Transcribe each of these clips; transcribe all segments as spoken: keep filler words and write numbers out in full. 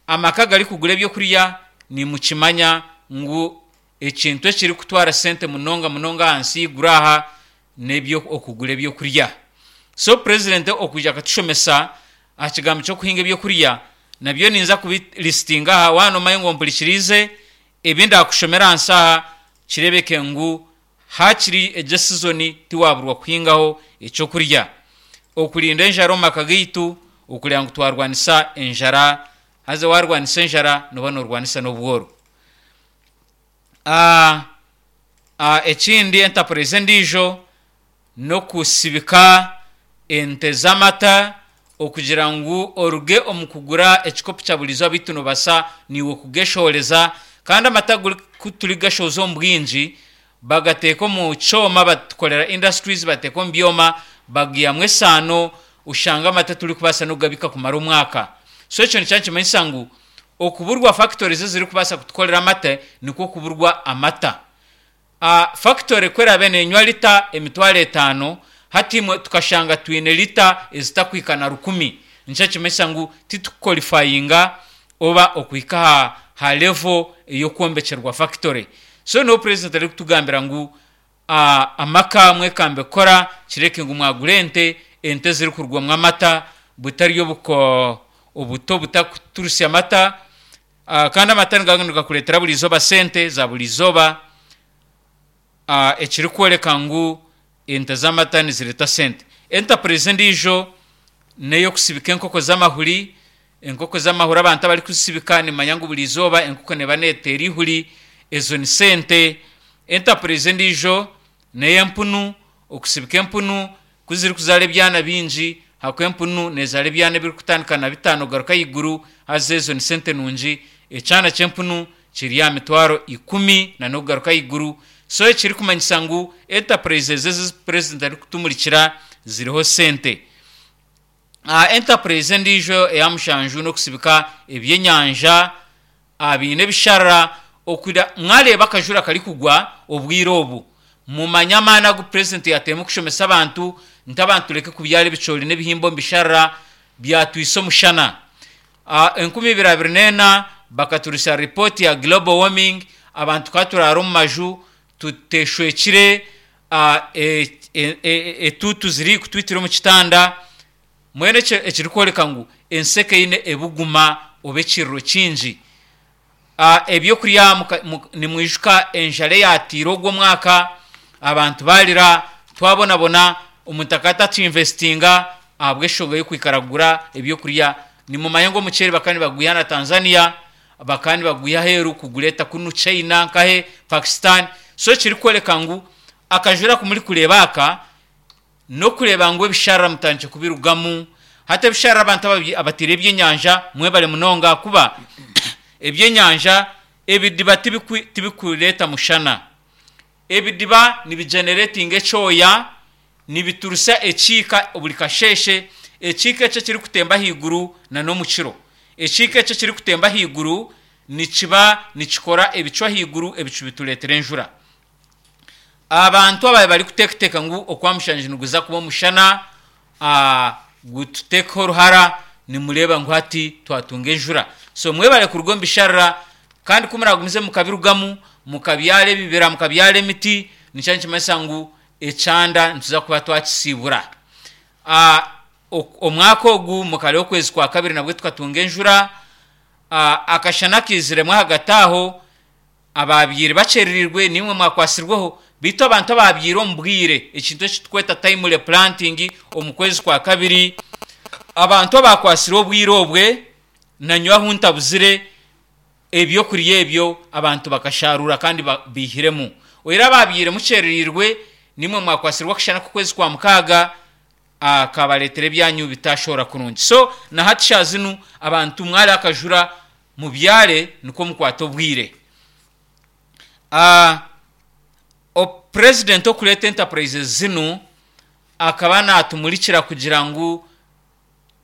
Amaka garikugura ebyokurya, nimukimanya ngu ekintu ekirikutwara sente munonga munonga ahansi y'eiguru aha n'ebyo okugura ebyokurya. So purezidenti okwija akatushomesa aha kigambo ky'okuhinga ebyokurya, nabyo ninza kubilisitinga aha. Waaba noomanya ngu ompurikiriize, ebi ndaakushomera ahansi aha kireebeke ngu haakiri egi esizoni tiwaaburwa kuhingaho ekyokurya. Okurinda enjara omu maka gaitu, okureeba ngu twarwanisa enjara, haza waarwanisa enjara nooba noorwanisa n'obworo. Ekindi enterprise endiijo n'okusibika ente z'amata okugira ngu oruge omu kugura ekikopo kya buri izooba beitu noobaasa naiwe kugeshohoreza. Kandi amata ku turikugashohoza omu bwingi, bagateeka omu kyoma, batukorera industries bateeka omu byoma bagihamu esaano, oshanga amata turikubaasa n'okugabiika kumara omwaka. So ekyo nikiba nikimanyisa ngu okuburwa factories ezirikubaasa kutukorera amate nikwo kuburwa amata. Factory ku eraabe neenywa lita emitwaro etaano, hati imwe tukashanga twine lita ezitakuhika na rukumi, nikyo nikimanyisa ngu titukukolifayinga oba okuhika aha ha level ey'okwombekyerwa factory. So niho purezidenti arikutugambira ngu amaka mwekambe kukora kireke ngu mwagura ente, ente ezirikurugwamu amata butari obuko obuto obutakuturusya mata. Kandi amata nigaba nigakureetera buri izooba sente za buri izooba, ekirikworeka ngu ente z'amata nizireeta sente. Enterprise endiijo n'ey'okusibika enkoko z'amahuri. Enkoko z'amahuri abantu abarikuzisibika nimumanya ngu buri izooba enkoko neeba neeteera eihuri, ezo ni sente. Enterprise endiijo n'ey'empunu, okusibika empunu ku zirikuzaara ebyana bingi, ahakuba empunu neezaara ebyana ebirikutandika na bitaano kugaruka ahaiguru, haza ezo ni sente nungi. Ekyana ky'empunu kiri aha mitwaro ikumi n'okugaruka ahaiguru. So ekirikumanyisa ngu enterprises ezi ezi purezidenti arikutumurikira ziriho sente. Enterprise endiijo eya mushanju n'okusibika ebyenyanja biine ebisharara. Okwira mwareeba akajura karikugwa obwire obu, mumanye amaani agu purezidenti yaateiremu kushomesa abantu nti abantu tureke kubyara ebicoori n'ebihimba omu bisharara byatwisa omushana. Enkumi ibiri abiri n'ena bakaturusya ripooti ya global warming, abantu tukaba turaara omu maju tuteshwekire, etuutu ziri kutwitira omu kitanda, mbwenu ekyo ekirikworeka ngu ensi ekaine ebuguma oba ekiriro kingi. Ebyokurya nimwijuka enjara eyaatiire ogwo omwaka, abantu baarira, twabonabona, omuntu akaba atakiinvesitinga ahabw'enshonga y'okwikara kugura ebyokurya. Nimumanya ngu omuceeri bakaba nibagwiha na Tanzania, bakaba nibagwiha aheeru kugureeta kunu China nkahe, Pakistan. So ekirikworeka ngu akajura aku murikureeba aka, n'okureeba ngu ebisharara mutandikire kubirugamu. Hati ebisharara abantu abataire ebyenyanja mwebare munonga ahakuba ebyenyanja ebidiba tibikureeta mushana. Ebidiba nibigeneretinga ekyoya, nibiturusya ekiika buri kasheeshe, ekiika ekyo ekirikutemba ahaiguru n'omukiro. Ekiika ekyo ekirikutemba ahaiguru nikiba nikikora ebicu ahaiguru, ebicu bitureetera enjura. Abantu ababaire barikuteekateeka ngu okwa mushanju niguza kuba omushana gututeekeho oruhara, nimureeba ngu hati twatunga enjura. So mwebare kuruga omu bisharara kandi ku muraagumize mukabirugamu, mukabyara ebibira, mukabyara emiti, nikyo nikimanyisa ngu ekyanda nituza kuba twakisiibura. Omwaka ogu mukareeba okwezi kwa kabiri nabwo tukatunga enjura, akashana kaiziremu ahagati aho, abaabaire bakyerereirwe naimwe mwakwatsirweho, beitu abantu abaabaire omu bwire, ekintu eki turikweta timely planting omu kwezi kwa kabiri, abantu abaakwatsirwe obwire obwe, nanye ahu ntabuzire, ebyokurya ebyo abantu bakasharuura kandi baihiremu. Oyihireho abaabaire mukyerereirwe, naimwe mwakwatsirwe akashana k'okwezi kwa mukaaga, kabareetera ebyanyu bitaashohora kurungi. So na hati shaaha zinu abantu mwareeba akajura mubyare nikwo mukwate obwire. Purezidenti okureeta enterprises zinu akaba naatumurikira kugira ngu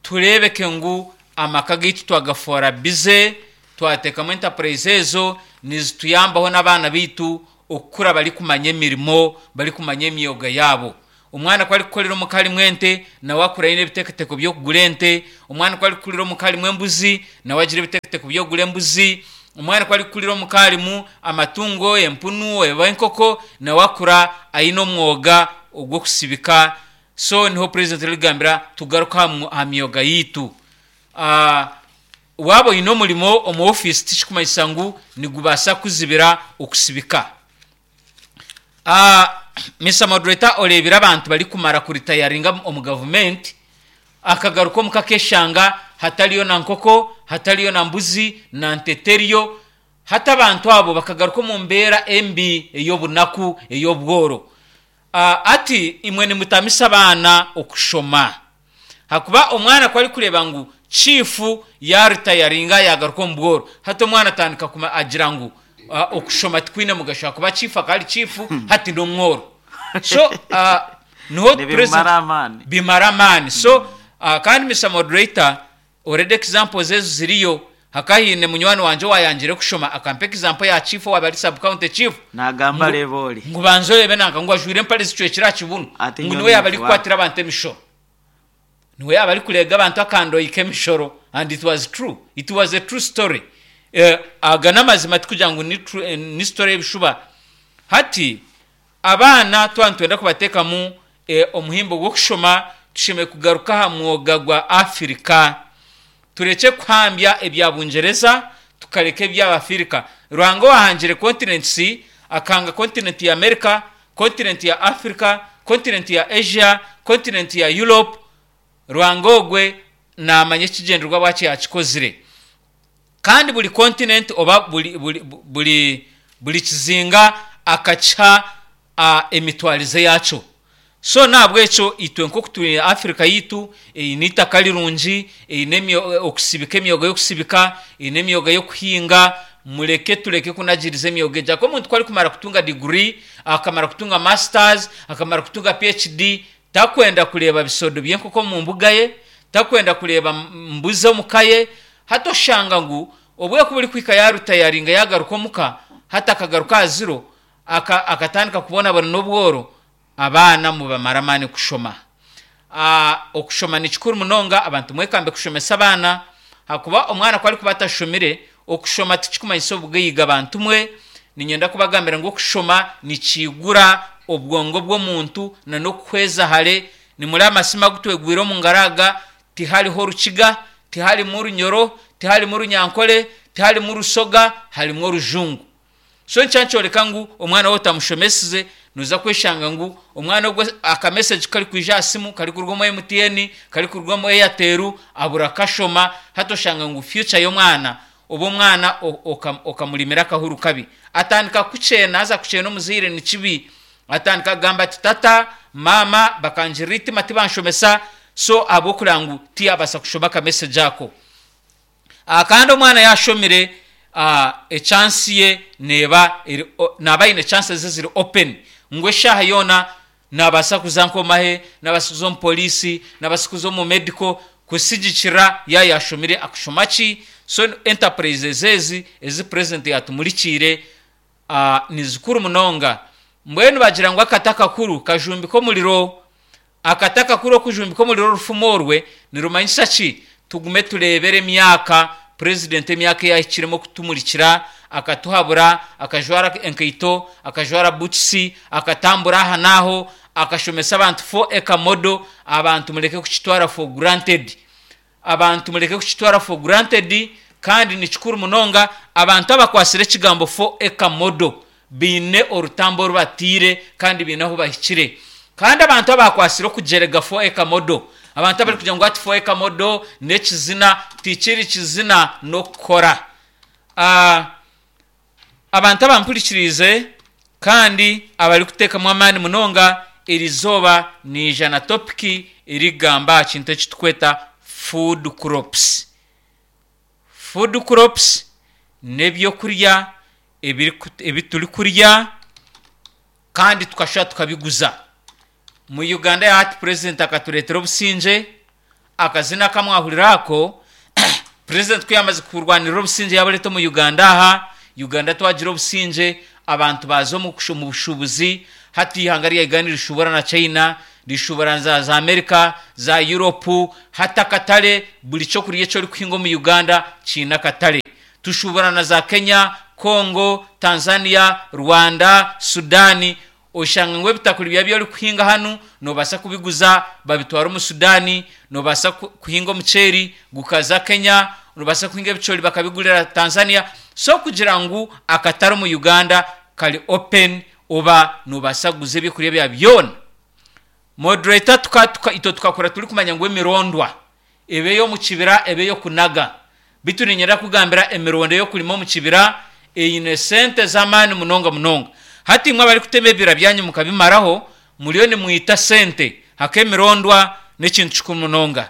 tureebeke ngu amaka gaitu twagafoora bize, twateekamu enterprise ezo nizituyambaho n'abaana baitu okukura barikumanya emirimo, barikumanya emyoga yaabo. Omwana ku arikukorera omuka harimu ente, nawe akura aine ebiteekateeko by'okugura ente. Omwana ku arikukurira omuka harimu embuzi, nawe agira ebiteekateeko by'okugura embuzi. Omwana ku arikukurira omuka harimu amatungo, empunu oba enkoko, nawe akura aine omwoga ogw'okusibika. So niho purezidenti arikugambira tugaruke aha myoga yaitu. Waaba oine omurimo omu ofiisi tikikumanyisa ngu nigubaasa kuzibira okusibika. Mister Moderator, oreebire abantu barikumara kuritayaringa omu gavumenti, akagaruka omuka akeshanga hatariyo na nkoko, hatariyo na mbuzi, na nte teriyo. Hati abantu abo bakagaruka omu mbeera embi ey'obunaku, ey'obworo. Ati imwe nimutamisa abaana okushoma. Hakuba omwana ku arikureeba ngu chiifu yaaritayaringa yaagaruka omu bworo, hati omwana atandika kuma agira ngu okushoma tikwine mugasho ahakuba chiifu akaba ari chiifu hati n'omworo. So niho Nibimara amaani. Bimara amaani. So kandi Mister Moderator, already examples ezo ziriyo. Hakaba haine munywani wangye owaayangire kushoma akampa example ya chief owaaba ari sub-county chief. Naagamba Ngu reeba ori. ngu banza oreebe nanka ngu ajwaire empare zicwekire aha kibunu. Ati Ngu nyowe niwe yaaba ninfwa. arikukwatira abantu emishoro. Niwe yaaba arikureega abantu akandoyi k'emishoro and it was true. It was a true story. Eh, aga n'amazima tikugira ngu ni true, eh, ni story y'ebishuba. Hati abaana twaba nitwenda kubateekamu eh, omuhimbo gw'okushoma, tushemereire kugaruka aha mwoga gwa Afirika. Turekye kuhambya ebya Bungyereza, tukareka eby'Abafirika. Ruhanga owahangire continents, akahanga continent ya America, continent ya Africa, continent ya Asia, continent ya Europe, Ruhanga ogwe naamanya ekigyendererwa bwaki yakikozire. Kandi buri continent oba buri, buri, buri, buri kizinga akakiha uh, emitwarize yakyo. So nahabwekyo itwe nk'oku turi Africa yaitu eine eitaka rirungi, eine emyo- okusibika, emyoga y'okusibika, eine emyoga y'okuhinga, mureke tureke kunagiriza emyoga egyo. Ahakuba omuntu ku arikumara kutunga degree, akamara kutunga masters, akamara kutunga P H D, takwenda kureeba bisodo by'enkoko omu mbuga ye, takwenda kureeba mbuzi omu ka ye. Hati oshanga ngu obwe ku burikuhika yarutayaringa yagaruka omuka, hati akagaruka aha ziro, aka- akatandika kubonabona n'obworo. Abaana mubamara amaani kushoma. Ah, okushoma ni kikuru munonga. Abantu mwekambe kushomesa abaana, hakuba omwana ku arikuba atashomire, okushoma tikikumanyisa obugaiga. Bantu mwe, niinyenda kubagambira ngu okushoma nikiigura obwongo bw'omuntu na n'okuhweza hare. Nimureba amasimu agu twegwire omu ngaro aga, tihariho orukiga, tiharimu orunyoro, tiharimu orunyankore, tiharimu orusoga, harimu orujungu. So nikyo nikyoreka ngu omwana wawe otamushomesize, noza kweshanga ngu omwana ogwo akamessage karikwija aha simu karikuruga omu M T N, karikuruga omu Airtel, abura kashoma. Hati oshanga ngu future y'omwana oba omwana okamurimira akahuru kabi, atandika kukyena. Haza kukyena omuzaire ni kibi. Atandika kugamba ati, "Tata, mama bakangirira eitima, tibanshomesa." So ahabw'okureba ngu tiyabaasa kushoma akamessage ako. Ah, kandi omwana yashomire, ah, echance ye neeba eri o- naaba aine chances eziri open ngu eshaaha yoona nabaasa kuza nk'omahe, nabaasa kuza omu poliisi, nabaasa kuza omu medical, kusigikira ya yashomire akushoma ki. So enterprises ezi ezi president yatumurikiire uh, ni zikuru munonga. Mbwenu bagira ngu akati akakuru kajumbika omuriro. Akati akakuru okujumbika omuriro, orufumo orwe nirumanyisa ki? Tugume turebere emyaka president, emyaka eyahikiremu okutumurikira, akatuhabura, akajwara enkaito, akajwara boots, akatambura aha n'aho, akashomesa abantu four acre model. Abantu mureke kukitwara for granted. Abantu mureke kukitwara for granted, kandi ni kikuru munonga. Abantu abakwasire ekigambo four acre model biine orutambo orubatiire kandi biine ahu bahikire. Kandi abantu abakwasire okugyerega four acre model, abantu abari kugira ngu ati four acre model n'ekizina, tikiri kizina, n'okukora. Ah, abantu abampurikiriize kandi abarikuteekamu amaani munonga, eri izooba niija na topic erikugamba aha kintu eki tukweta food crops. Food crops n'ebyokurya ebiriku- ebi turikurya kandi tukashusha tukabiguza mu Uganda ya hati. President akatureetera obusingye. Akazina kamwahurira ako, president ku yamaze kurwanirira obusingye yabureeta omu Uganda, aha Uganda twagira obusingye, abantu baza omu kushu- mu bushubuzi. Hati ihanga rya Uganda nirishubura na China. Rishubura za za Amerika, za Europe, hata akatare. Buri kyokurya eki orikuhinga omu Uganda kiine akatare. Tushubura na za Kenya, Congo, Tanzania, Rwanda, Sudani. Oshanga ngu ebitakuri byawe ebi orikuhinga hanu nobaasa kubiguza babitwara omu Sudani. Nobaasa kuhinga omuceeri gukaza Kenya, nobaasa kuhinga ebicoori bakabigurira Tanzania. So kugira ngu akatare omu Uganda kari open, oba nobaasa kuguza ebyokurya byawe byona. Moderator, tuka, tuka, itwe tukakura turikumanya ngu emirondwa ebe ey'omu kibira, ebe ey'okunaga. Bitu niinyenda kugambira, emirondo ey'okurima omu kibira eine sente z'amaani munonga munonga. Hati imwe abarikutema ebibira byanyu mukabimaraho, muriyo nimwita sente haka. Emirondwa n'ekintu kikuru munonga.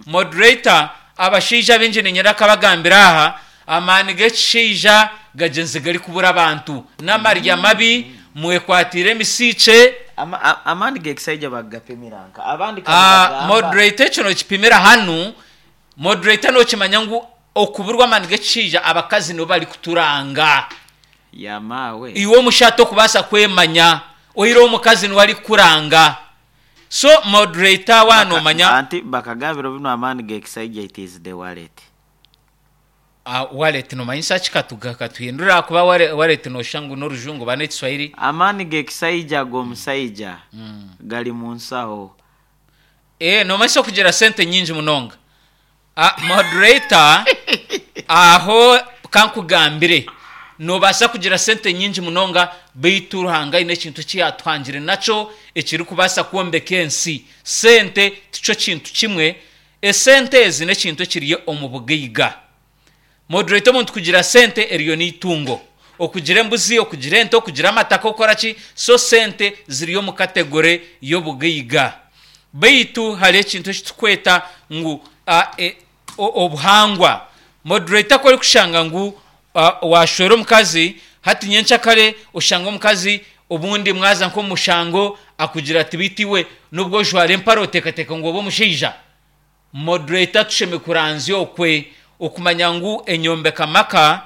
Moderator, abashaija baingi niinyenda kabagambira aha, amaani g'ekishaija gagyenzi garikubura abantu n'amarya mabi mwekwatire emisiikye. Ama- a- amaani g'ekisaija bagapimira nka abandi? Ah, Kabagamba- moderator, ekyo nokipimira hanu. Moderator, nokimanya ngu okuburwa amaani g'ekishaija, abakazi nibo bari kuturanga. Yamaawe. Iwe omushaija okubaasa kwemanya, oyireho omukazi niwe arikukuranga. So moderator, wanomanya. Anti bakagambira bino, amaani g'ekisaija, it is the wallet. uh, wallet nomanyisa ki? Katuga katuhindura kuba wallet, wallet noshusha ngu n'orujungu oba n'ekiswahili. Amaani g'ekisaija g'omusaija gali mu nsaho. Eh, nomanyisa okugira sente nyingi munonga. uh, moderator aho kankugambire, nobaasa kugira sente nyingi munonga, beitu Ruhanga aine ekintu eki yatuhangire nakyo ekirikubaasa kwombeka ensi. Sente tikyo kintu kimwe. Esente ezi n'ekintu ekiri omu bugaiga. Moderator, omuntu kugira sente eriyo n'itungo, okugira embuzi, okugira ente, okugira amataka, okukora ki. So sente ziri omu category y'obugaiga, beitu hari ekintu ekitukweta ngu uh, e, o- obuhangwa. Moderator, ko orikushanga ngu uh, washwera omukazi hati nyenkyakare, oshanga omukazi obundi mwaza nk'omushango, akugira ati, "Bitiwe nubwo ojwara empare, oteekateeka ngu oba omushaija." Moderator, tusheme kuranzya okwe okumanya ngu enyombeka maka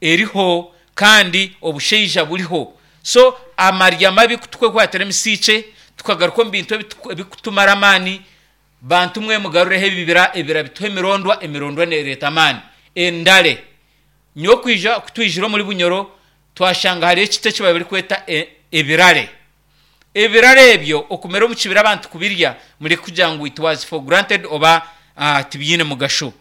eriho kandi obushaija buriho. So amarya mabi kutukwetwatira emisiikye, tukagaruka omu bintu ebitu- ebikutumara amaani. Bantu mwe, mugarureho ebibira. Ebibira bituha emirondwa, emirondwa nereeta amaani. Endare nyowe kwija kutwijira omuri Bunyoro, twashanga hariyo ekiti eki bari kweta e- ebirare. Ebirare ebyo okumera omu kibira, abantu kubirya, muri kugira ngu it was for granted oba uh, tibyine mugasho.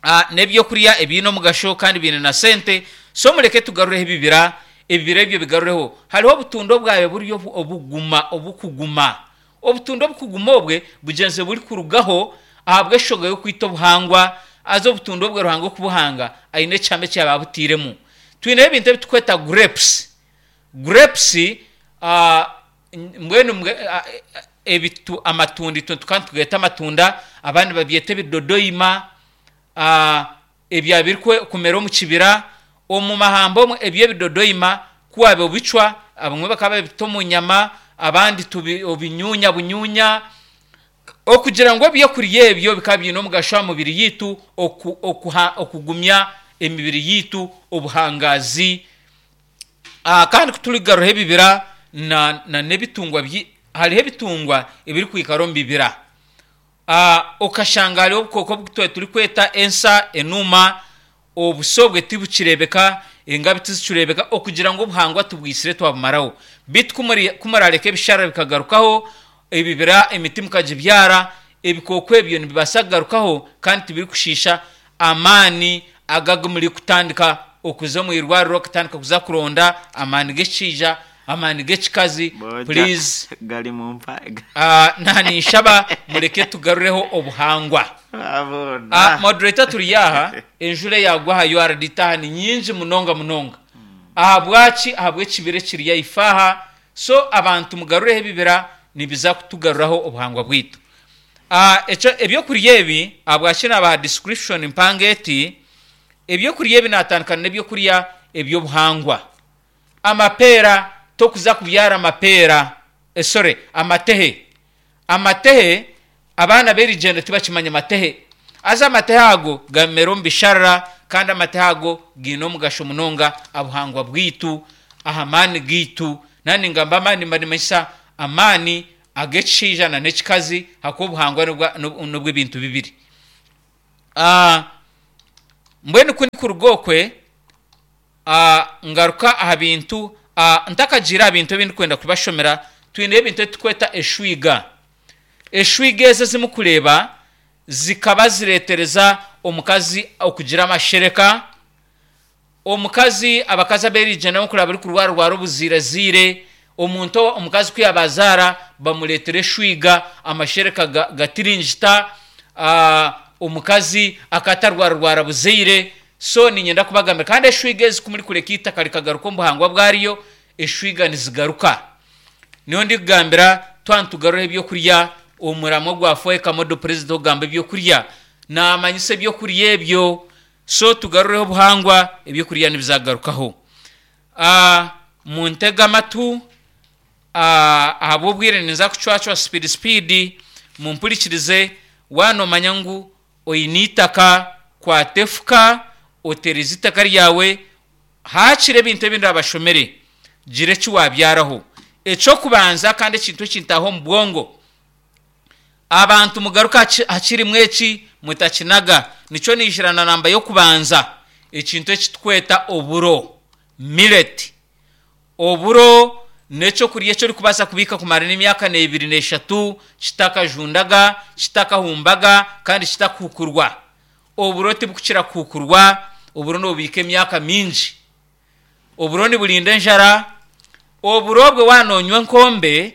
uh, n'ebyokurya ebiine omugasho kandi biine na sente. So mureke tugarureho ebibira. Ebibira ebyo bigarureho. Hariho obutundo bwawe buri obu- obuguma obukuguma, obutundo obukuguma obwe bugyenzi buri kurugaho ahabw'eshoga y'okwita obuhangwa. Aza obutundo obwe, Ruhanga okubuhanga aine ekihama ekyaba abutiiremu. Twineho ebintu ebitukweta grapes. Grapes, uh, mbwenu mbwe, uh, ebitu amatunda, itwe tukaba tugeta amatunda, abandi babyeta ebidodoima, uh, ebya biri kwe- kumera omu kibira, omu mahamba omwe. Ebyo ebidodoima kuwabe obicwa, abamwe bakaba babita omu nyama, abandi tubi obinyunya bunyunya, okugira ngu ebyokurya ebyo bikaba biine omugasho aha mubiri yitu, oku, okuha, okugumya emibiri yitu, obuhangazi. uh, kandi kuturigaruha ebibira na, na n'ebitungwa byi, hariho ebitungwa ebirikwikara omu bibira. uh, okashanga hariho obukooko obutwe turikweta ensa, enuma. Obuso bwe tibukirebeka, engabi tizikirebeka, okugira ngu obuhangwa tubwisire twabumaraho. Bitu kumuri- kumurareka ebishara bikagarukaho, ebibira, emiti mukagibyara, ebikooko ebyo nibibaasa kugarukaho kandi tibirikushiisha amaani agaga muri kutandika okuza omu irwariro, okutandika kuza kuronda amaani g'ekishaija, amaani g'ekikazi. Boja, Please. Gali mu mpa. uh, naninshaba mureke tugarureho obuhangwa. Abona. uh, moderator turi aha, enjura eyagwa aha U R D taha ni nyingi munonga munonga. Ahabwaki? Ahabw'ekibira ekiri haife aha. So abantu, mugarureho ebibira, nibiza kutugaruraho obuhangwa bwitu. uh, ekyo ebyokurya ebi, ahabwaki nabaha description mpanga eti ebyokurya ebi? Natandikana n'ebyokurya ebyobuhangwa. Amapeera, tokuza kubyara amapeera, eh, sorry, amatehe. Amatehe, abaana b'erigyendo tibakimanya amatehe. Aza amatehe ago gamera omu bisharara, kandi amatehe ago giine omugasho munonga abuhangwa bwitu, aha maani gaitu. Nani ngamba amaani, manimanyisa amaani. ag'ekishaija na n'ekikazi, hakuba obuhangwa n'obwa- n'obu- n'obw'ebintu bibiri. Ah, mbwenu ku ndikuruga okwe, ah, ngaruka aha bintu, ah, ntakagiire aha bintu ebi ndikwenda kubashomera, twine ebintu ebitukweta eshwiga. Eshwiga ezo ezimukureeba zikaba zireetereza omukazi okugira amashereka. Omukazi, abakazi aberiija nabo kuraba barikurwararwara obuziiraziire, omuntu omukazi ku yabazaara bamureetera eshwiga, amashereka ga- gatiringita, ah, omukazi akatarwararwara buzaire. So niinyenda kubagambira kandi eshwiga ezi ku murikureka eitaka rikagaruka omu buhangwa bwaryo, eshwiga nizigaruka. Niyo ndikugambira twaba nitugaruraho ebyokurya, omuramwa gwa four Model President ogamba ebyokurya, naamanyisa ebyokurya ebyo. So tugarureho obuhangwa, ebyokurya nibizagarukaho. Ah, muntege amatu, ah, ahabw'obwire ninza kucwacwa speed speed, mumpurikirize. Wanomanya ngu oine eitaka, kwata efuka otereze itaka ryawe, haakiri ebintu ebindi abashomere, gira eki wabyaraho. Ekyokubanza kandi ekintu ekintaho omu bwongo, abantu mugaruka haki- hakirimwe eki mutakinaga, nikyo niijira na namba y'okubanza, ekintu ekitukweta oburo, millet. Oburo n'ekyokurya eki orikubaasa kubiika kumara n'emyaka n'ebiri n'eshatu kitakajundaga, kitakahumbaga kandi kitakuhukurwa. Oburo tibukukira kuhukurwa, oburo nobubiika emyaka mingi. Oburo niburinda enjara. Oburo bwe waaba nonywa enkombe,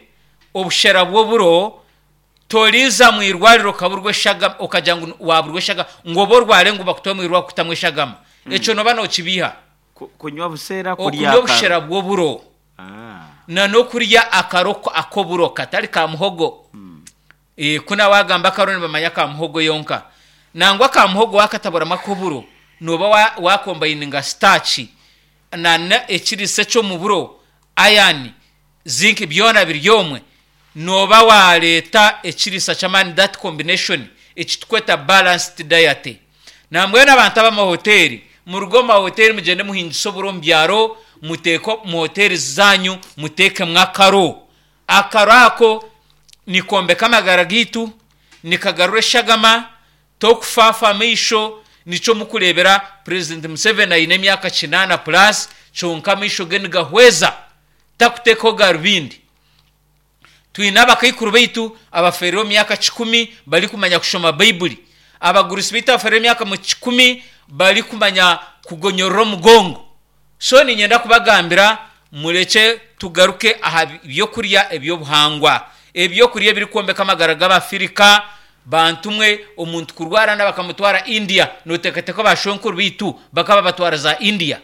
obushera bw'oburo, toriiza mu irwariro okaburwa eshagama, okagira ngu waburwa eshagama, ngu obe orware ngu bakutware omu irwariro kukutamu eshagama. Ekyo noba nokibiiha. Ku- kunywa buseera, kurya okunywa akaro. Obushera bw'oburo Ah. na n'okurya akaro ak'oburo katari ka muhogo. Eh, kuna wagamba akaro nibamanya ka muhogo yonka. Nangwa ka muhogo wakataburamu ak'oburo, noba wa- wakombininga starch na na ekiriisa eky'omu buro, iron, zinc, byona biri omwe, noba wareeta ekiriisa ky'amaani, that combination ekitukweta balanced diet. Nambwenu abantu ab'amahoteri, muruge omu mahoteri mugyende muhingise oburo omu byaro, muteeke mu hoteri zanyu, muteekemu akaro. Akaro ako nikombeka amagara gaitu, nikagarura eshagama, tokufafa amaisho. Nikyo mukureebera President Museveni aine emyaka kinaana plus, kyonka amaisho ge nigahweza, takuteekaho garubindi. Twine abakaikuru baitu abaferire omu myaka kikumi barikumanya kushoma Baibuli, abagurusi baitu abaferire emyaka mu kikumi barikumanya kugonyorora omugongo. So niinyenda kubagambira murekye tugaruke aha byokurya ebyobuhangwa, ebyokurya ebirikwombeka amagara g'Abafirika. Bantu mwe, omuntu kurwara na bakamutwara India, noteekateeka bashwenkuru baitu bakaba batwara za India?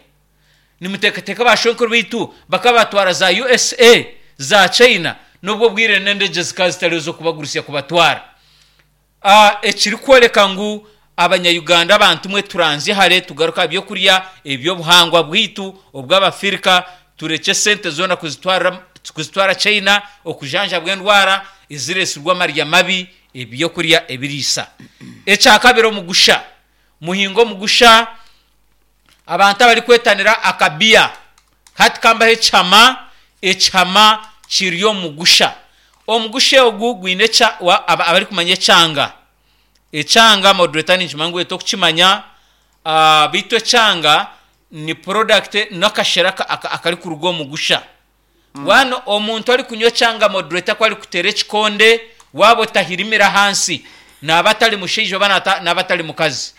Nimuteekateeka bashwenkuru baitu bakaba batwara za U S A, za China? N'obwo bwire n'endegye zikaba zitariho z'okubagurusya kubatwara. Ah, ekirikworeka ngu Abanyayuganda, abantu mwe, turanzye hare, tugaruka aha byokurya ebyobuhangwa bwaitu obw'Abafirika, turekye sente zoona kuzitwara kuzitwara China okujanjabwa endwara eziresirwe amarya mabi, ebyokurya ebiriisa. Ekyakabiri, omugusha. Muhinga omugusha. Abantu abarikwetanira akabiya, hati kambaho ekihama. Ekihama kiri omu mugusha. Omugusha ogu gwine ekya- wa- aba- abarikumanya ekyanga, ekyanga moderator ninkimanya ngu tokukimanya, ah, beitu ekyanga ni product n'akashera aka- aka- akarikuruga omu mugusha. Wano omuntu arikunywa ekyanga, moderator, ku arikuteera ekikonde, waaba otahirimira ahansi, naaba atari mushaija oba nata- naaba atari mukazi.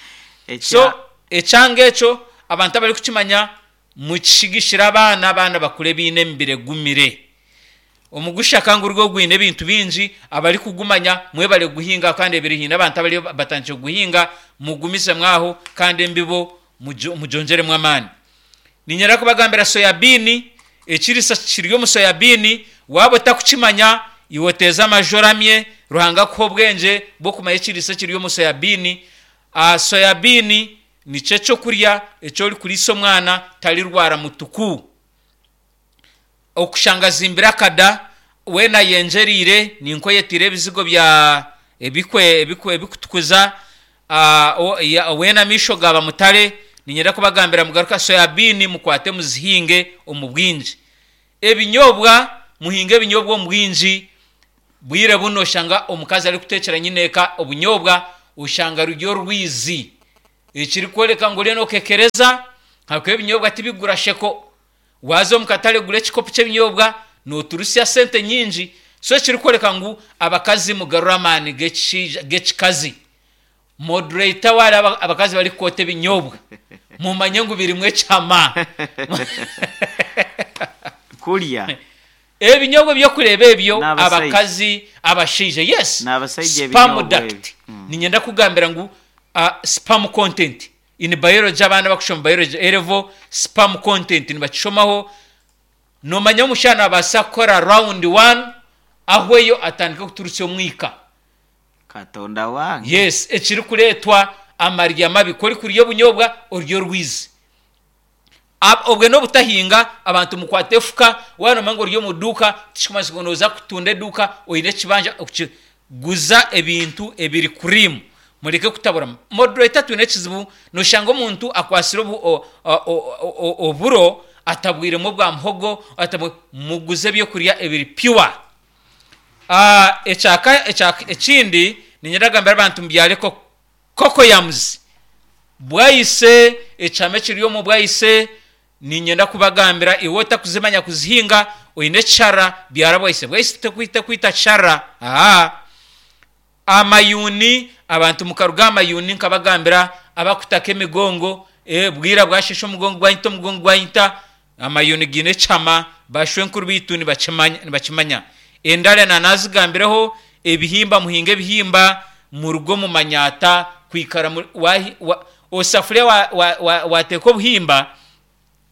So Ekya- ekyanga ekyo abantu abarikukimanya, mukishigishire abaana, abaana bakure biine emibiri egumire. Omugusha kandi gurigo gwine ebintu bingi. Abarikugumanya mwebare guhinga, kandi ebiri hiine abantu abari batandikire kuguhinga, mugumisemu aho, kandi embibo mujo- mugyongyeremu amaani. Niinyenda kubagambira soyabean, ekiriisa kiri omu soyabean, waaba otakukimanya, iwe oteeze amaju oramye Ruhanga akuha obwengye bw'okumanya ekiriisa ekiri omu soyabean. uh, soyabean nikyo ekyokurya eki orikuriisa omwana tarirwara mutuku. Okushanga azimbire akada, weena ayenjereire, ninko oyetiire ebizigo bya ebikwe ebikwe ebikutukuza, ah, o- ya- weena amaisho gaba mutare. Niinyenda kubagambira mugaruka soyabean, mukwate muzihinge omu bwingi. Ebinyobwa, muhinge ebinyobwa omu bwingi. Bwire buno oshanga omukazi arikutekyera nyineeka obunyobwa, oshanga ruri orwizi, ekirikworeka ngu oriyo nokekereza ahakuba ebinyobwa tibigura sheko. Waaza omu katare gura ekikopo ky'ebinyobwa noturusya sente nyingi. So ekirikworeka ngu abakazi mugarure amaani g'ekishaija g'ekikazi. Moderator waareeba abakazi barikukwota ebinyobwa, mumanye ngu birimu ekyama. Kurya. Ebinyobwa ebyokureeba ebyo N'abashaija. abakazi abashaija, yes. N'abashaija Sperm ebinyobwa duct. ebi. Mm. Niinyenda kugambira ngu uh, sperm content in biology, abaana bakushoma biology A level, sperm content nibakishomaho. Noomanya omushaija naabaasa kukora round one ahweyo atandike kuturusya omwika. Katonda wange. Yes, ekirikureetwa amarya mabi. Ku orikurya obunyobwa orya orwizi. Ab- obwe n'obutahinga. Abantu mukwate efuka. Waaba noomanya ngu ori omu duuka, tikikumanyisa ngu nooza kutunda eduuka oine ekibanja okuki- guza ebintu ebiri cream, mureke kutabura. Moderator, twine ekizibu, noshanga omuntu akwasire obu, o, o, o, o, oburo atabwiremu obwa muhogo atabwi, muguze ebyokurya ebiri pure. uh, ekyaka ekyaka ekindi niinyenda kugambira abantu mubyare cocoyams, bwayise, ekyama ekiri omu bwayise. Niinyenda kubagambira, iwe otakuzimanya kuzihinga, oine ekishara, byara bwayise. Bwayise tekwita kwita kishara. Aha amayuni, abantu mukaruga amayuni, nkabagambira abakutaka emigongo, e, bwira bwashesha omugongo gwanyita, omugongo gwanyita. Amayuni giine ekyama, bashwenkuru bitu nibakimanya nibakimanya. Endala nanazigambireho, ebihimba, muhinga ebihimba, muruge omu manyata kwikara muri- wahi- wa- osafuriya wateeka wa, wa, wateeka obuhimba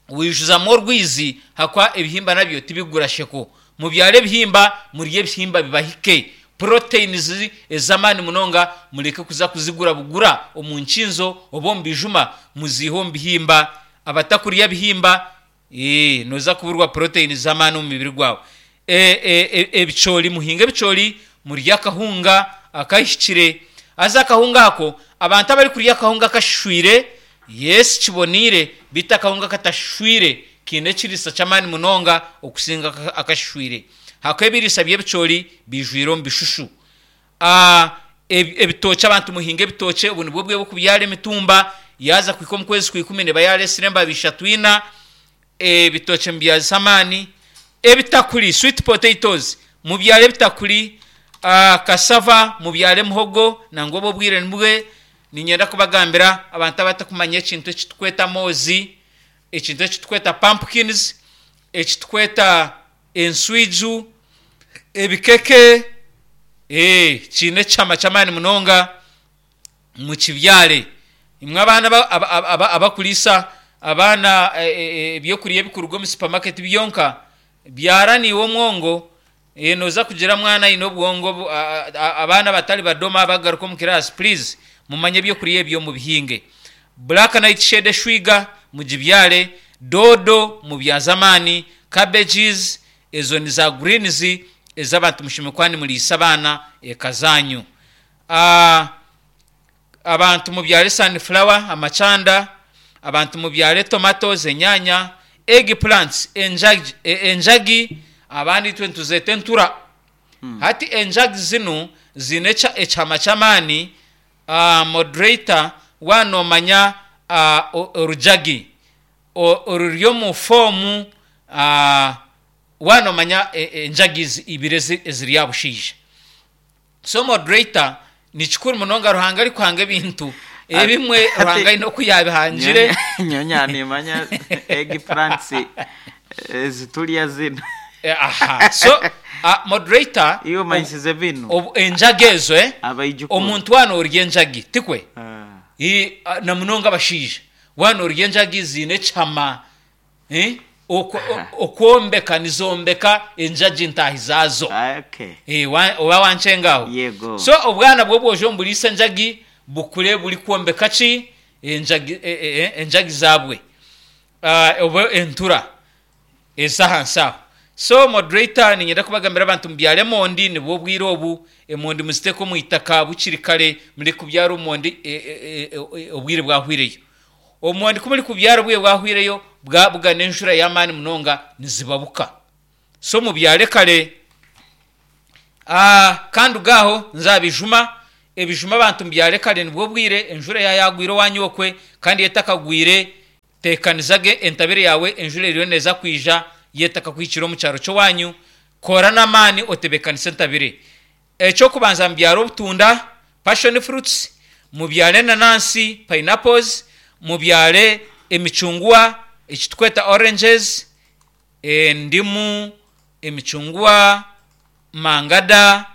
wijuzamu orwizi, hakwa ebihimba nabyo tibigura sheko. Mubyare ebihimba, murye ebihimba bibahike, proteins ez'amaani munonga. Mureke kuza kuzigura bugura omu nkinzo oba omu bijuma, muziihe omu bihimba. Abatakurya bihimba, ee, noza kuburwa proteins z'amaani omu mubiri gwawe. e, e, e, ebicoori, muhinge ebicoori, murye akahunga akahikire. Haza akahunga ako, abantu abarikurya akahunga kashishwire, yes, kiboniire, beitu akahunga katashishwire kiine ekiriisa ky'amaani munonga okusinga aka- akashishwire, hakuba ebiriisa by'ebicoori bijwire omu bishushu. uh, ebitookye, abantu muhinge ebitookye. Obu nibwo bwe bw'okubyara emitumba, yaza kuhika omu kwezi kwa ikumi neba yaresire embabi ishatu, ina. Ebitookye mubyazise amaani. Ebitakuri, sweet potatoes, mubyare ebitakuri. uh, cassava, mubyare muhogo, nangwa obwo obwire nibwe. Niinyenda kubagambira abantu abatakumanya ekintu ekitukweta moozi, ekintu ekitukweta pumpkins, ekitukweta enswiju, ebikeke, eh, kiine ekyama ky'amaani munonga, mukibyare. Imwe abaana aba- aba- aba- abakuriisa abaana eh, eh, ebyokurya ebikuruga omu supermarket byonka, byara niiwe omwongo, eh, noza kugira mwana aine obwongo bu- a- a- abaana batari badoma bagaruka omu class. Please, mumanye ebyokurya ebyo mubihinge. Black nightshade, eshwiga, mugibyare. Doodo mubyaze amaani. Cabbages, ezo ni za greens ez'abantu mushemeriire kuba nimuriisa abaana eka zanyu. uh, abantu mubyare sunflower, amacanda. Abantu mubyare tomatoes, enyanya, egg plants, enjagi, e- enjagi abandi itwe nituzeeta entura. Hati enjagi zinu zine ekya- ekyama ky'amaani. uh, moderator wanomanya uh, orujagi o- oruri omu foomu, uh, wanomanya e- enjagi ezi- ibiri ezi- eziri aha bushaija. So moderator, ni kikuru munonga. Ruhanga arikuhanga ebintu ebimwe, Ruhanga aine oku yabihangire. Nyonya nimanya egg plants eziturya zino. Eh, aha, so uh, moderator, Iyo manyisize bino. obu- enjagi ezo, eh, Abaijukuru. omuntu wana orya enjagi tikwe? Ah. I- a- na munonga abashaija, wana orya enjagi ziine ekyama, eh, okwo- o- okwombeka, nizombeka enjagi ntaahi zaazo. Ah, okay. Eh, wa- oba wankyengaho? Yego. So obwana bwo bwoja omuburiisa enjagi, bukure buri kwombeka ki? Enjagi, e- e- e- enjagi zabwe. Ah, oba entura ez'ahansi aho. So moderator, ninyenda kubagambira abantu mubyare emondi, nibwo obwire obu. Emondi muziteeke omu itaka bukiri kare. Muri kubyara omondi, e- e- e- e- obwire bwahwireyo. Omondi kumuri kubyara obwire bwahwireyo, bwabugana enjura y'amaani munonga, nizibabuka. So mubyare kare. Ah, kandi gaho nzabijuma ebijuma abantu mubyare kare nibwo bwire, enjura yayagwire owanyu okwe kandi yetakagwire, tekanizage entabire yawe, enjura eriyo neza kwija yetaka kuhikira omu kyaro ky'owanyu. Kora n'amaani otebekanise entabire. Ekyokubanza, mubyare obutunda, passion fruits, mubyare enanansi, pineapples, mubyare emicungwa ekitukweta oranges, endimu, emicungwa, mangada,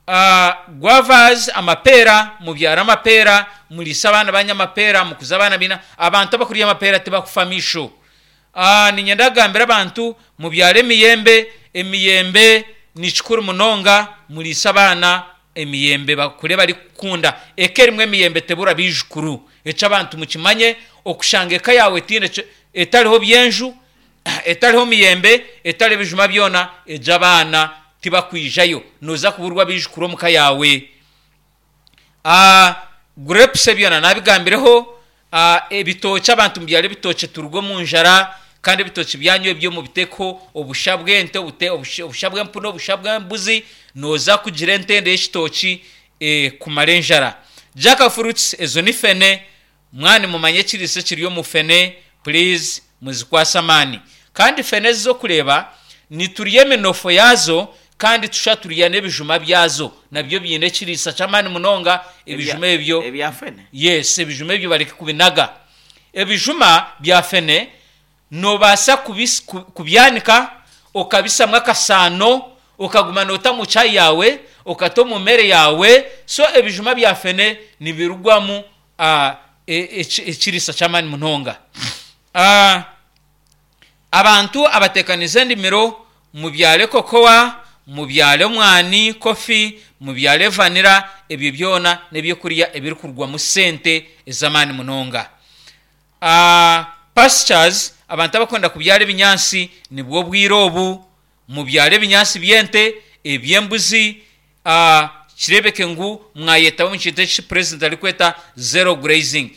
uh, guavas, amapeera. Mubyare amapeera, muriise abaana banyu amapeera, mukuze abaana bina. Abantu abakurya amapeera tibakufa misho. uh, ninyenda kugambira abantu mubyare emiyembe. Emiyembe ni kikuru munonga, muriise abaana emiyembe bakure bari kukunda. Eka erimu emiyembe tebura biijukuru. Ekyo abantu mukimanye, okushanga eka yawe tiine ekyo- etariho byenju, etariho miyembe, etariho ebijuma byona, egyo abaana tibakwijayo, noza kuburwa abiijukuru omuka yawe. Ah, grapes ebyona nabigambireho. Ah, ebitookye, abantu mubyare ebitookye, turuge omu njara. Kandi ebitookye byanyu ebyo mubiteho obusha bw'ente, obute- obusha obusha bw'empunu, obusha bw'embuzi, noza kugira entende y'ekitooki eh, kumara enjara. Jack fruits, ezo ni fene. Mwani mumanye ekiriisa ekiri omu fene, please muzikwase amaani. Kandi fene ezi z'okureeba niturya eminofo yaazo, kandi tusha turya n'ebijuma byazo, nabyo biine ekiriisa ky'amaani munonga ebijuma ebyo. Ebya fene? Yes, ebijuma ebyo bareke kubinaga. Ebijuma bya fene nobaasa kubis- ku- kubyanika, okabisamu akasaano, okaguma noota mu chai yawe, okata omu mere yawe. So ebijuma bya fene nibirugwamu ah, e- eki- ekiriisa ky'amaani munonga. Ah, abantu abatekanize endimiro, mubyare kokowa, mubyare omwani, coffee, mubyare vanilla. Ebyo byona n'ebyokurya ebirikurugwamu sente ez'amaani munonga. uh, pastures, abantu abakwenda kubyara ebinyansi, nibwo bwire obu mubyare ebinyansi by'ente, eby'embuzi. uh, kirebeke ngu mwayetaho omu kintu eki president arikweta zero grazing.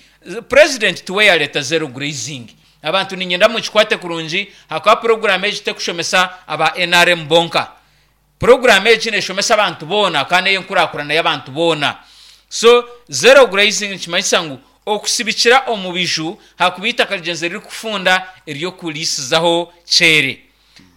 President tiwe yareta zero grazing. Abantu ninyenda mukikwate kurungi, hakaba poroguramu egi tekushomesa aba N R M bonka. Poroguramu egi neshomesa abantu boona kandi ey'enkurakurana y'abantu boona. So zero grazing nikimanyisa ngu okusibikira omu biju hakuba itaka rigyenzi ririkufunda ery'okurisizaho kyere.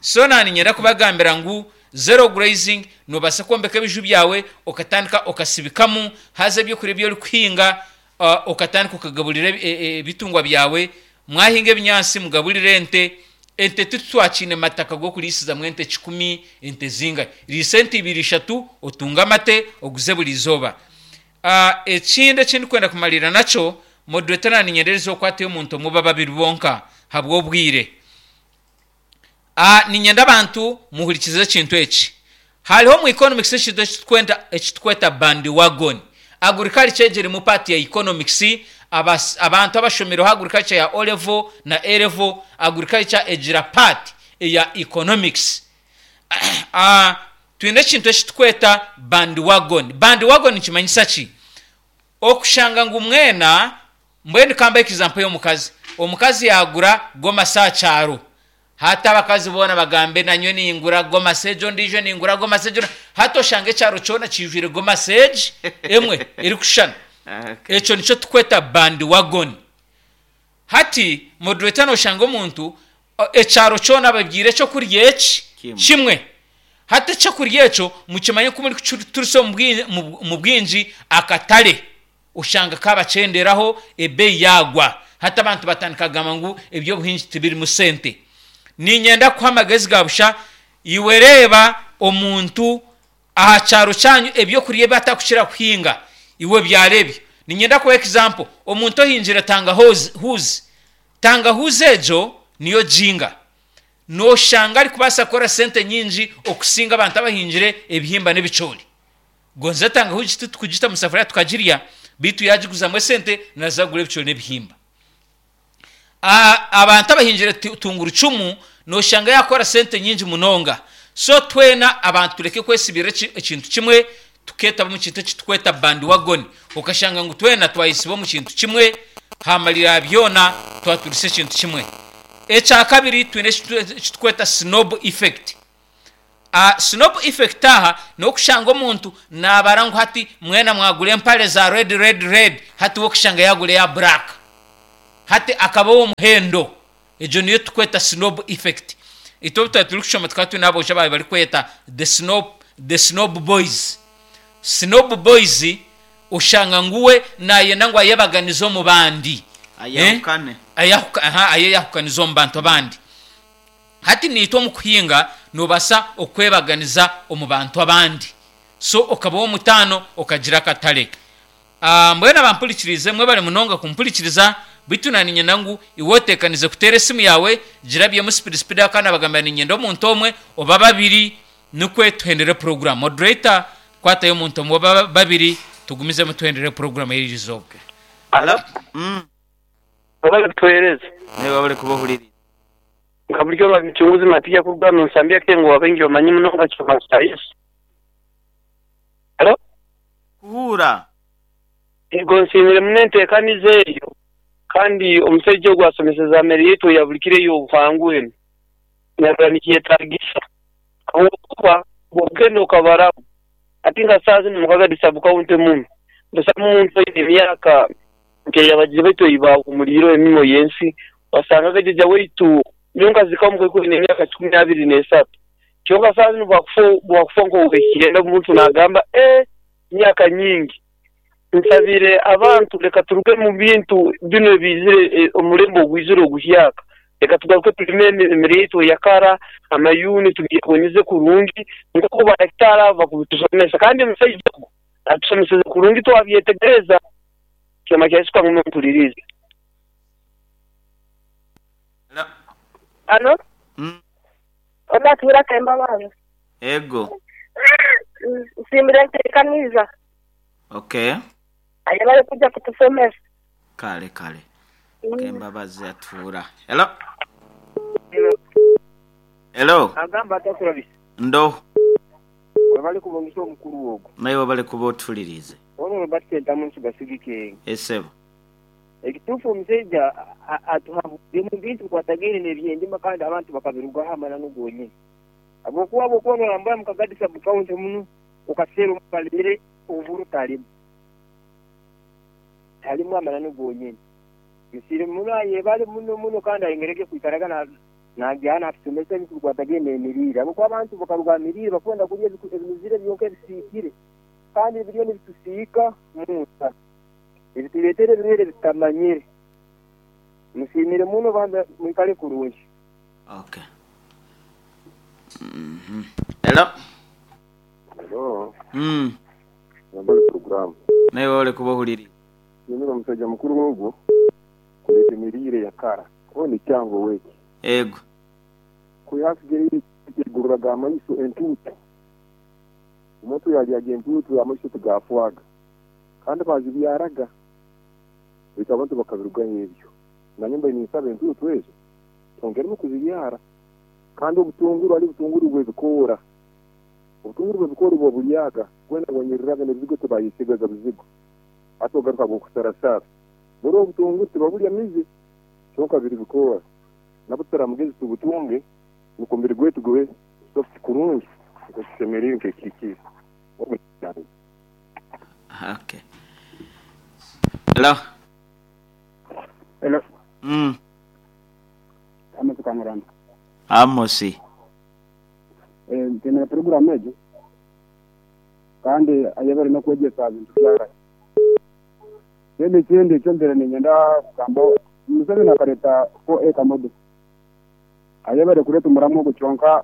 So naninyenda kubagambira ngu zero grazing nobaasa kwombeka ebiju byawe, okatandika okasibikamu, haza ebyokurya ebi orikuhinga uh, okatandika okagaburira ebi- e- e- ebitungwa byawe. Mwahinga ebinyansi, mugaburire ente. Ente titwakiine mataka g'okurisizamu ente kikumi, ente zingahi? Riisa ente ibiri, ishatu, otunge amate oguze buri izooba. uh, ekindi ekindikwenda kumalira nakyo, moderator, naninyendereza okwatayo omuntu omwe oba babiri bonka habw'obwire. uh, ninyenda abantu muhurikize ekintu eki. Hariho mu economics ekintu ekitukwenda ekitukweta bandwagon. Agriculture egirimu part ya economics. abas, abantu abashomireho agriculture ya O level na A level, agriculture egira part eya economics. uh, twine ekintu ekitukweta bandwagon. Bandwagon nikimanyisa ki? Okushanga ngu mwena, mbwenu kamba example y'omukazi. Omukazi yagura gomasi aha kyaro, hati abakazi boona bagambe, "Nanywe ningura gomasi egyo, ndijo ningura gomasi egyo." Hati oshanga ekyaro kyona kijwire gomasi egi emwe erikushushana. Okay. Ekyo nikyo tukweta bandwagon. Hati moderator, noshanga omuntu o- ekyaro kyona babwire ekyokurya eki Kimwe. kimwe. Hati ekyokurya ekyo mukimanye ko muri kuturisa omu bwingi- mu- mu bwingi, akatare oshanga kabakyenderaho, ebeeyi yagwa. Hati abantu batandika kugamba ngu ebyobuhingi tibirimu sente. Ninyenda kuha amagezi ga busha. Iwe reeba omuntu aha kyaro kyanyu, ebyokurya ebi atakukira kuhinga, iwe byarebye. Ninyenda kuha example, omuntu ohingire tangahuzi. Huzi, tangahuzi egyo niyo jinga, noshanga arikubaasa kukora sente nyingi okusinga abantu abahingire ebihimba n'ebicoori. Gonze tangahuzi titukugita mu safuriya tukagirya, bitu yagiguzamu esente naza kugura ebicoori n'ebihimba. Ah, abantu abahingire tu- tungurucumu noshanga yakora sente nyingi munonga. So twena abantu tureke kwesibira eki- ekintu kimwe, tuketaba omu kintu ekitukweta bandwagon, okashanga ngu twena twayisiba omu kintu kimwe, hamalira byona twaturisa ekintu kimwe. Ekyakabiri, twine ekitu- ekitukweta snowball effect. Uh, snob effect aha n'okushanga omuntu nabara ngu hati mwena mwagura empare za red red red, hati wokushanga yagura eya black, hati akaba ow'omuhendo. Egyo niyo tukweta snob effect. Itwe obu twari turikushoma tukaba twine aboojo ababaire barikweta the snob, the snob boys. Snob boys oshanga ngu we nayenda ngu ayebaganize omu bandi. Ayahukane. Eh? Ayahuka, aha, ayeyahukanize omu bantu abandi. Hati niitwe omu kuhinga noobasa okwebaganiza omu bantu abandi, so okaba ow'omutaano okagira akatare. Ah, mbwenu abampurikirize mwebare munonga kumpurikiriza, beitu naniinyenda ngu iwe oteekanize kuteera esimu yaawe, girabyemu sipidi sipidi ahakuba nabagambira niinyenda omuntu omwe oba babiri nikwe tuhendere puroguramu. Moderator, kwatayo omuntu omwe oba babiri tugumizemu tuhendere puroguramu y'eri izooba. Hello? Mm. Webale kutuheereza. Nawe webale kuba ohuririize. Nka buryo rwa Mucunguzi Matiya kuruga omu Nsambya Kengo wabaingi bamanyi munonga Kyoma kya Yesu. Hello? Kuhuura. Ego nsiimire muno enteekaniza eyo, kandi omushaija ogu asomeseza mere yaitu eya buri kiro ey'obuhangwa enu. Narora nikyetagisa. Habwokuba bw'ogenda okabaramu, hati nka saaha zinu Mukagadi sub county muno, busamu omuntu oine emyaka nk'eyabagiire baitu ei baahumuliireho emirimo y'ensi, wasangaga jjajja waitu nyowe nkazikamu nkaikuru oine emyaka kikumi abiri n'esatu. Kyonka saaha zinu bwakufa bwakufa nk'ow'ekyenda omuntu naagamba ee myaka nyingi. Nsabire abantu leka turuge mu bintu binu ebiizire omulembe ogwizire oguhyaka. Leka tugaruke tulime emere yaitu eyakara, amayuni tubyekonyeze kurungi nk'oku badakitaari abo bakubitusomesa. Kandi omusaija ogu atusomeseze kurungi twabyetegereza. Kyoma kya Yesu kangume mpulirize. Hello? Alo? Mm. Onaatuura Kembabazi. Ego. Nsiimire enteekaniza. Okay. Aye barikuja kutusomesa. Kale kale. Kembabazi atuura. Hello? Hello? Agamba atakurabisa. Ndo. Webale kubongesa omukuru ogwo. Nawe webale kuba otuhuririize. Ono Robert Sentamu nsigasigike. Esebo. Ekituufu omushaija atuhabudde mu bintu bikwatagaine n'ebyendima kandi abantu bakabirugaho amananu gonyini. Habwokuba bw'okuba norambura mu Kagadi sub county muno okaseera omukalemere oburo talimu. Talimu amananu gonyini. Nsiire muno ayebale muno muno kandi ayengerege kwikaraga na nagyana atusomesa ebintu bikwatagaine n'emiriire. Habwokuba abantu bakaruga aha miriire bakwenda kurya ebinuzire byonka ebisiikire kandi ebiriyo nibitusiika munda. Ebitureetera ebirwaire bitamanyire. Musiimire muno bambi mwikare kurungi. Okay. Mhm. Hello? Hello. Mm. Nambale program. Nawe webale kuba ohuririize. Nsiimire omushaija mukuru ogwo kureeta emiriire ya kara. Oni kyango weki. Ego. Kuyasigire igururaga amaiso entuutu. Omuntu yaryaga entuutu amaiso tigafwaga. Kandi bazibyaraga. Baitu abantu bakabirugaho ebyo. Nanye mbaire ninsaba entuutu ezo twongeremu kuzibyara. Kandi obutunguru hariho obutunguru bw'ebikoora. Obutunguru bw'ebikoora bw'oburyaga bwena bwonyereraga n'ebizigo tibayesigaga bizigo. Hati ogaruka bw'okusarasara. Buri obutunguru tibaburya mizi kyonka biri bikoora. Nabwo turamugezi tubutunge nukwo omubiri gwaitu gube soft kurungi nk'otushemereire nk'ekiikire. Okay. Hello? Hello. Mm. Amos Kangurana. Amosi. Eh, ntemera program egyo kandi ayebare n'okwegyesa bintu byakare. Then ekindi ekyo mbere niinyenda kugamba Museveni akareeta four acre model. Ayebare kureeta omuramu ogwo kyonka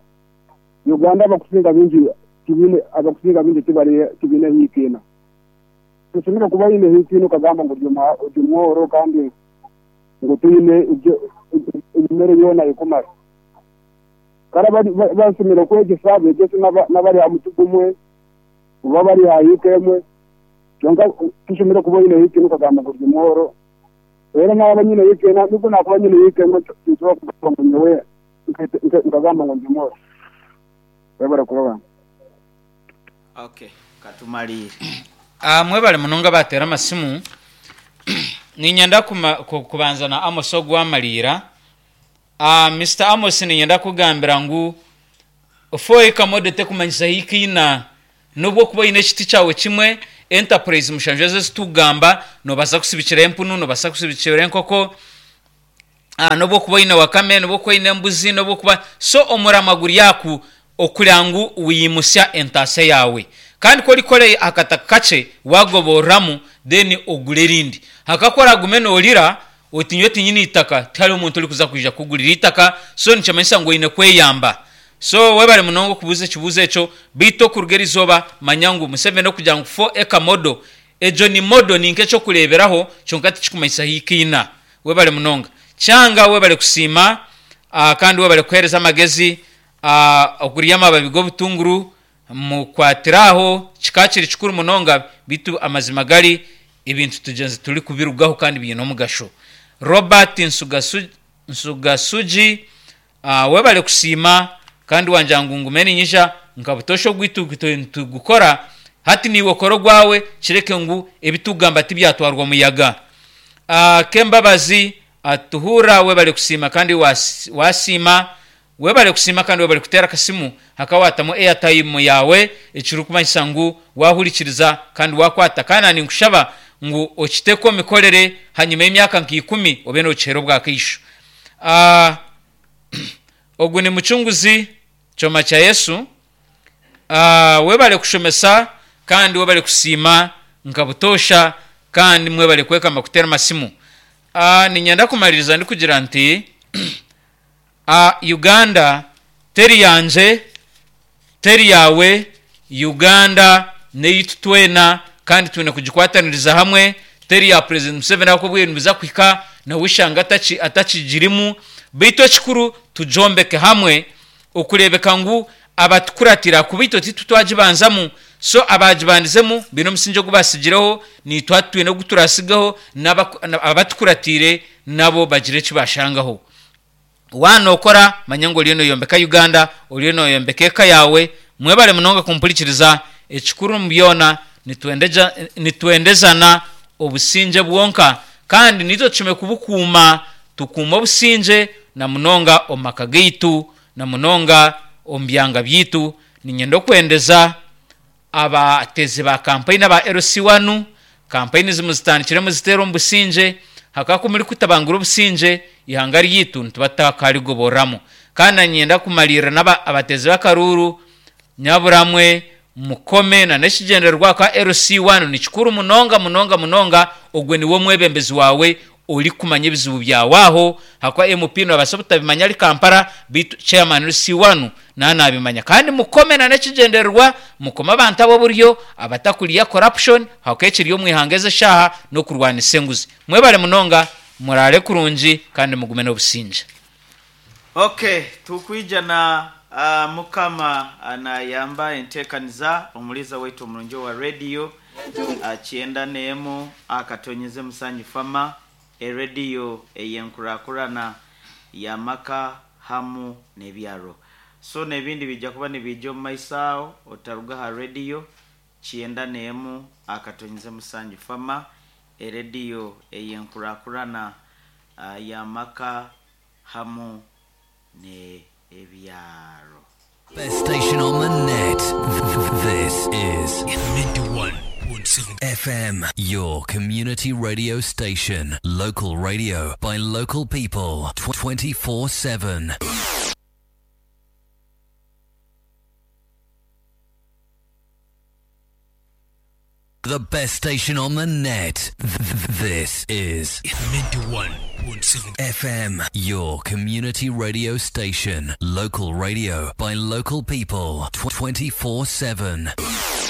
Uganda abakusinga bingi tibiine abakusinga bingi tibari tibiine hiikiina. Toshobora kuba oine hiikiina okagamba ngu ori omworo kandi ngu toine emere yoona ekumara. Kare basomire kwegyesa beegyese n'abari aha muti gumwe oba bari aha hiika emwe kyonka toshobora kuba oine hiikiina okagamba ngu ori omworo. Reero naaba nyine hiikiina nobu naakuba nyine hiika emwe tinsobola kugamba ngu nyowe nkagamba ngu ndi omworo. Webare kuba bange. Okay. Katumalire. Ah, mwebale munonga bateera amasimu. Niinyenda kuma- ku- kubanza na Amos ogwamaliira. Ah, Mister Amos niinyenda kugambira ngu Four acre model tekumanyisa hikiina nubwo kuba oine ekiti kyawe kimwe, enterprise mushanju ezo ezitugamba nobaasa kusibikira empunu, nobaasa kusibikira enkoko, ah, nobwo kuba oine wakame, nobwo kuba oine embuzi, nobwo kuba so omurama guri aku okugira ngu wiyimusya entaasa yawe. Kandi ku orikora akataka kakye wagoborramu, then ogure erindi. Hakakora gume noorira oti nyowe tinyine itaka, tihariho omuntu orikuza kwija kukugurira itaka, so nikimanyisa ngu oine kweyamba. So webare munonga okubuuza ekibuuzo ekyo, beitu okuruga erizooba manya ngu Museveni okugira ngu four acre model, egyo ni model ni nk'ekyokureeberaho kyonka tikikumanyisa hikiina. Webare munonga. Kyanga webare kusiima, ah, kandi webare kuheereza amagezi, ah, okurya amababi g'obutunguru mukwatire aho kikaba kiri kikuru munonga, beitu amazima gari ebintu tugyenzi turi kubirugaho kandi biine omugasho. Robert Nsugasu, Nsugasugi, uh, webare kusiima kandi wangira ngu ngume ninyija nka butosha ogwitu tugukora hati niiwe okora ogwawe kireke ngu ebitugamba tibyatwarwa muyaga. Uh, Kembabazi atuhurra webare kusiima kandi was- wasiima, webare kusiima kandi webare kuteera akasimu hakawatamu airtime yawe, ekirikumanyisa ngu wahurikiriza kandi wakwata. Kandi ninkushaba ngu okiteeke omu mikorere hanyuma y'emyaka nka ikumi obe nookihera obwakaisho. Uh, ogu ni mucunguzi kyoma kya Yesu. Uh, webare kushomesa kandi webare kusiima nka butosha kandi mwebare kwekamba kuteera amasimu. Uh, ninyenda kumaliriza ndikugira nti uh, Uganda teri yangye, teri yawe, Uganda neitu twena kandi twine kugikwataniriza hamwe. Teri ya President Museveni ahabw'okuba obwire nibuza kuhika nawe ishanga ataki atakigirimu, beitu ekikuru tujombeke hamwe okureebeka ngu abatukuratira kuba itwe titwe twagibanzamu, so abagibandizemu biine omusingi ogu basigireho, naitwe hati twine ogu turasigaho, n'abatukuratiire nabo bagire eki bashangaho. Waanokora manya ngu oriyo noyombeka Uganda, oriyo noyombeka eka yawe. Mwebare munonga kumpurikiriza. Ekikuru omu byona nitwendeja nitwendezana obusingye bwonka, kandi nitwe tushemeriire kubukuuma, tukuume obusingye na munonga omu maka gaitu, na munonga omu byanga byaitu. Niinyenda okwendeza abateezi ba kampeyini aba L C one, kampeyini muzitandikire muziteere omu busingye, hakaba ku murikutabangura obusingye ihanga ryaitu nituba tutakarigoborramu. Kandi niinyenda kumariirira n'aba abateezi b'akaruuru nyaburamwe mukome na n'ekigyendererwa kwa L C one ni kikuru munonga munonga munonga, ogwe niwe omwebembezi wawe orikumanya ebizibu byawe aho, hakuba M P nobaasa obutabimanya ari Kampala, beitu chairman L C one naaba nabimanya. Kandi mukome na n'ekigyendererwa, mukome abantu ab'oburyo abatakurya corruption, hakuba ekiri omu ihanga ezi eshaaha n'okurwanisa enguzi. Mwebare munonga, muraare kurungi kandi mugume n'obusingye. Okay, tukwija na uh, mukama anayamba enteekaniza omuliza waitu omurungi wa radio uh, kyenda n'emu akatonyeze musanyu fama erediyo eyenkurakurana yamaka hamu n'ebyaro. So n'ebindi bijja kuba nibijja omu maiso aho, otaruga ha rediyo kyenda n'emu akatonyeze musanju fama erediyo eyenkurakurana uh, yamaka hamu n'ebyaro. Best station on the net. This is ninety-one point seven F M, your community radio station. Local radio by local people twenty-four seven. The best station on the net. This is ninety-one point seven F M, your community radio station. Local radio by local people twenty-four seven.